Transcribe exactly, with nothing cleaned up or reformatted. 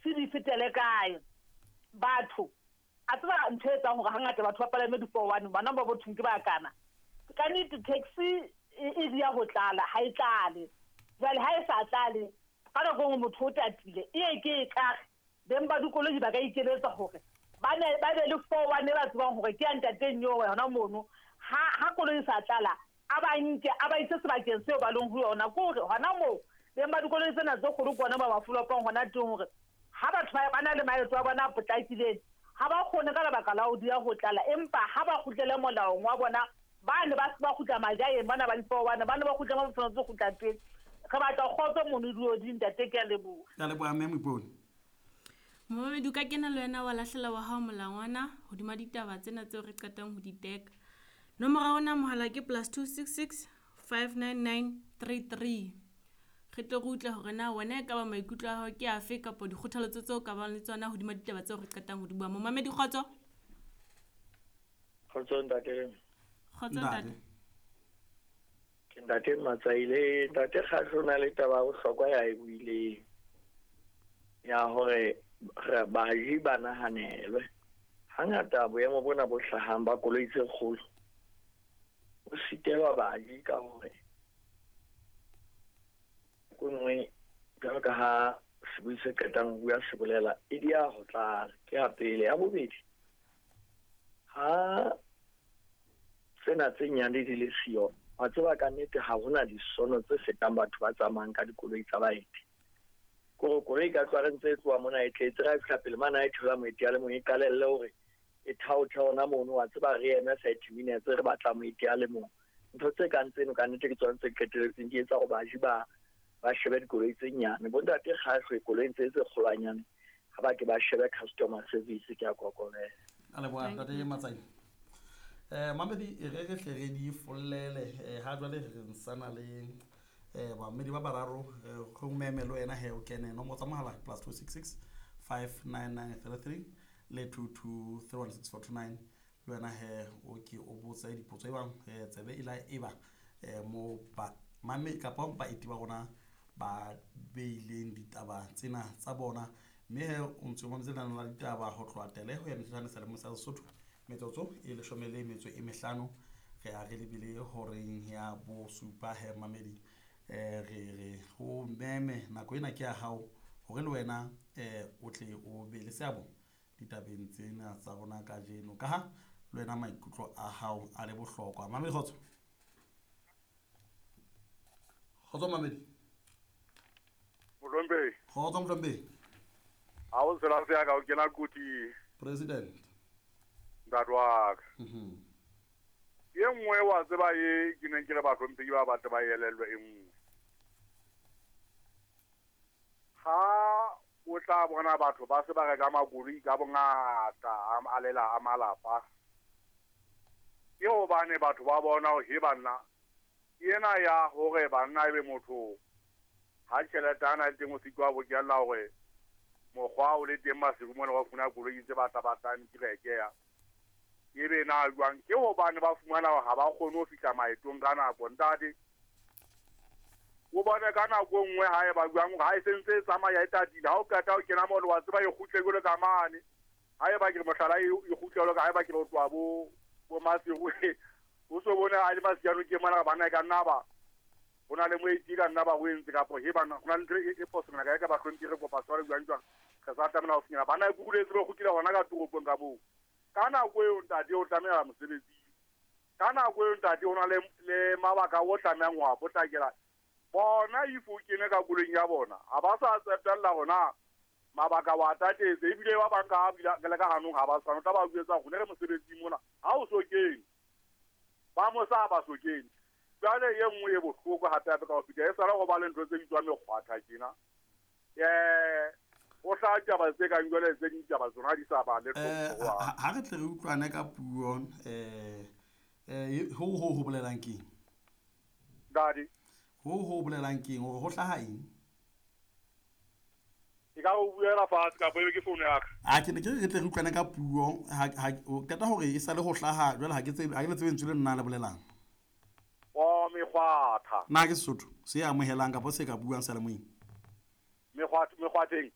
di-taxi di fetele kae. Batho a tseba ntho e etsang hore hangata batho ba palame di-four one bana ba bothong ke ba kana. Ka nnete taxi e e dia ho tlala, ha e tlale. Jwale ha e sa tlale, ka nako e nngwe motho o tatile, e ye ke e kare beng ba dikoloi ba ka ikeletsa hore ba ne ba be le four one e ba tsebang hore ke ya ntate Nyowe hona mono. Ha ha koloi e sa tlala, a ba nke a ba ise sebakeng seo ba leng ho yona. Ke hore hona moo beng ba dikoloi tsena tse kgolo ke bona ba ba folopang hona teng hore ha batho ba ba na le maeto a bona a potlakileng, ha ba kgone ka lebaka la ho dia ho tlala, empa ha ba kgutlele molaong wa bona, ba ne ba se ba kgutla majaeng bana ba di-four one, ba ne ba kgutla mo ba tshwanetse ho kgutla teng. Re batla kgotso mono dioding, ntate, ke a leboha. Ke a leboha mme Moipone. Momamedi, o ka kena le wena wa lahlela wa hao molangwana hodima ditaba tsena tseo re qetang ho di teka. Nomoro ya rona mohala ke plus two six six five nine nine three three. Re tle re utlwe hore na wena e ka ba maikutlo a hao ke afe kapa dikgothaletso tseo ka bang le tsona hodima ditaba tseo re qetang ho di bua. Momamedi, kgotso. Kgotso ntate. Kgotso ntate. Ke ntate Matsaile, ntate Kgahlo o na le taba ya bohlokwa ya e buileng ya hore re baji ba nahanelwe. Hangata boemo bona bo hlahang ba koloi tse kgolo o sitelwa baji ka hore ko nngwe jwalo ka ha sebui se qetang ho bua se bolela e dia ho tlala. Ke ya pele. Ya bobedi, ha tsena tse nyane di le siyo, wa tseba ka nnete ha hona disono tse fetang batho ba tsamayang ka dikoloi tsa baeti. Kore koloi ka tloha re ntse e tloha mona e tletse, ra e fihla pele mane ha e thola moeti a le mong e qalelle hore e thaothe hona mono, wa tseba re eme thirty minutes re batla moeti a le mong. Ntho tse kang tseno ka nnete ke tsona tse qetelletseng di etsa hore baji ba ba shebe dikoloi tse nyane. Bontate Kgahlo koloing tse tse kgolwanyane ha ba ke ba shebe customer service, ke a kokobela. A leboha ntate Matsaile. Eh mamedi e re re hle re di follele, eh ha jwale re nsana le eh bamedi ba bararo, go meme le wena he o kene nomoro tsa mohala plus two six six five nine nine three three le two two three one six four two nine. Le wena he o ke o botse dipotso e bang eh tsebe e la e ba eh mo ba mame kapa baeti ba rona ba beileng ditaba tsena tsa bona, mme he o ntse o mametse lenaneo la ditaba ho tloha tele ho ya mehlano sa lemo sa Sesotho metsotso e leshome le metso e mehlano. Re a re lebile horeng ya bosupa he mamedi, eh re re ho meme nako ena ke ya hao hore le wena eh o tle o be le seabo ditabeng tsena tsa rona kajeno, ka ha le wena maikutlo a hao a le bohlokwa. Mamedi, kgotso. Kgotso mamedi. Mohlomphei. Kgotso mohlomphei. Ha o tsela se ya ka o kena koti. President. Ntate wa ka. Mhm. E nngwe wa tseba e ke neng ke le bahlomphehi ba batle ba elellwe e nngwe. Ha o tla bona batho ba se ba reka makoloi ka bongata a lela a malapa, ke hobane batho ba bona hore he banna ena ya hore banna ebe motho ha tjhelete ana le teng o sitwa bokella hore mokgwa o le teng masiu mona wa fumana koloi tse batla batlang ke reke ya ebe na jwang, ke hobane ba fumana hore ha ba kgone ho fihla maetong ka nako. Ntate o bone ka nako e nngwe ha e ba jwang hore ha e sentse e tsamaya e tatile, ha o qeta ho kena mono wa tseba e kgutle jwalo ka mane, ha eba ke re mohlala e kgutle jwalo ka ha eba ke re o tloha bo bo Maseru, o so bone ha le Masiano ke mona bana e ka nna ba ho na le moeti ka nna ba o entse kapo he bana ho na le ntho e e phoso ka ka ba hlomphe re kopa tshwaro jwang jwang re sa tlamela ho finyella bana e kukuletse ba kgutlile hona ka toropong ka moo. Ka nako eo ntate o tlameha mosebetsing, ka nako eo ntate ho na le le mabaka o tlamehang ho a potlakela bona. If o kene ka koloing ya bona ha ba sa tsepella hona mabaka wa tatetse, ebile ba bang ka bila le ka hanong ha ba tshwana, o tla ba jwetsa hore re mosebetsing mona ha o so kene ba mo sa ba so kene. Jwale e nngwe e bohloko hape hape ka ho feta e sala go ba le ntho tse bitswang mekgwatha tjena, eh o hla taba tse kang jwale tse ding taba tsona di sa ba le Eh ha re tle re utlwane ka puo eh eh ho ho ho bolelang keng Dadi ho ho bolelang keng hore ho hlaha eng? Ke ka o buela fatshe kapa ebe ke founu ya ka. A ke ne ke re tle re utlwane ka puo ha ha o qeta hore e sale ho hlaha jwale ha ke tsebe ha ke le tsebe lentswe le nna le bolelang. O mekgwatha. Na ke Sesotho se amohelang kapa se ka buang seyalemoyeng? Mekgwatha mekgwatheng.